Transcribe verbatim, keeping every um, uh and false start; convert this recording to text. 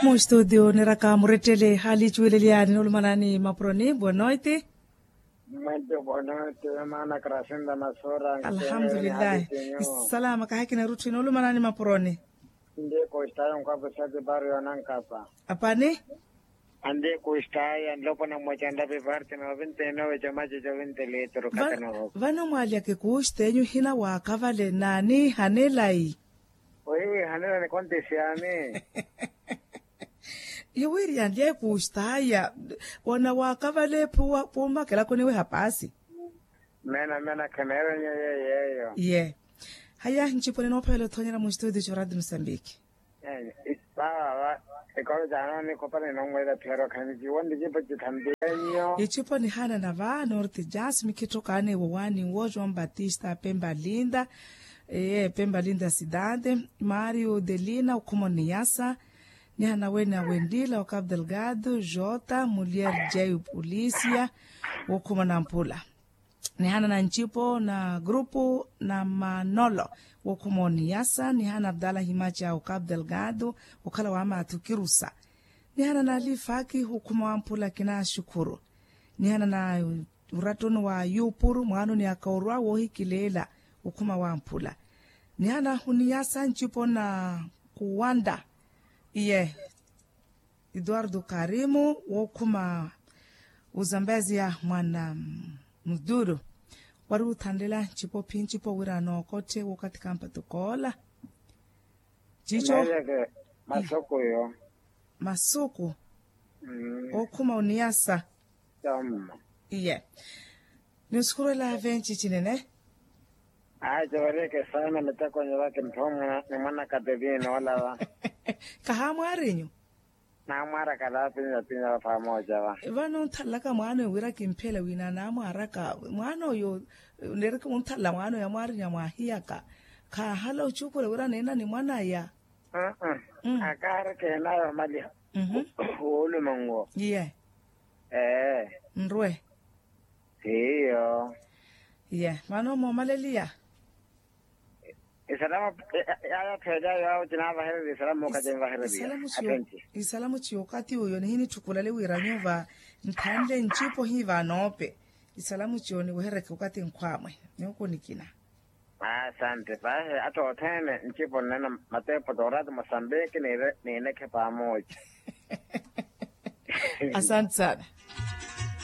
Mustudio niraka murettele halicuwelelyaani nolumanani mapuroni bonoiti. Mwento bonoiti. Maana krasinda masura. Alhamdulillahi. Salama kahakina rutthu nolumanani mapuroni. Ndi kustayo nkwapo sati bario nankapa. Apani. Andi kustayo nlopona mmoja ndapi parti na ovinte nowe chamache chovinte litro katano. Vano mwalyake kusta enyu hina waakavale nani hanelayi. Ohiwi hanela ni kontisiani. Iwiri yanlya ekuustaya. Wana waakavale phuwa phumakela koniwe hapasi. Mena mena khemeerenye yeyeyo. Ye. Haya nciponi noophavela othoonyela mu studio co radio mosambiki. Vava va. Ekolo cano nikhopana inoomweela phiyaro khani ciwo ndi cipo cithambiyanyo. Icipo nihanana va norte jasmi khitthokaanewo wani wo joão batista pemba linda. Eye pemba linda cidade. Mario delina okhuma oniyasa. Nihanana wene awendila o cabo delgado jota mulier jay polisia. Wokhuma nampula. Nihanana ncipo na grupu na manolo. Wokhuma oniyasa nihanana abdala himaca o cabo delgado. Okhala wa mathu kirusa. Nihanana alifaki wokhuma wamphula kinaxukhuru. Nihanana urattoni wa yupuru mwaanoni aka orwa wohikileela. Wokhuma wamphula. Nihanana huniyasa ncipo na kuwanda. Iye. Eduardo karimu wookhuma. Uzambezia mwana muduru. Wari wuthanlela ncipo phi ncipo wira nookotthe wookathi kampatokoola. Cico. Masuku yo. Masuku. Ookhuma oniyasa. Iye. Ni osukhurwela venci cinene. Ayi cooreke saana mitakonyo vake mphoomwa ni mwanakateliye noolava. Kahaamwaarinyu. Naamwaaraka laapinya pinya va pamoja va. Vano onthalelaka mwaana oyo wira kimphela wina naamwaaraka mwaana oyo. Neereke onthalela mwaana oyo amwaarinya mwaahiyaka. Khaahala ocuukula wira neena ni mwanaya. Akaareke enayo mali. Woolumango. Iye. Ee. Nrwe. Hiyo. Iye vano moomaleliya. Isalamu. Yaya pheelya yaawo cinaavahereriya isalamu okaci envahereriya. Isalamu ciyo okathi uyo nihinitthukula liwira nyuva. Nthanle ncipo hiiva noope. Isalamu ciyo niwehereke okathi nkhwaamwe. Nyuku nikina. Asante pahe atta othene ncipo nnena matepo toorati mosambiki niinekhe pamoja. Asante sana.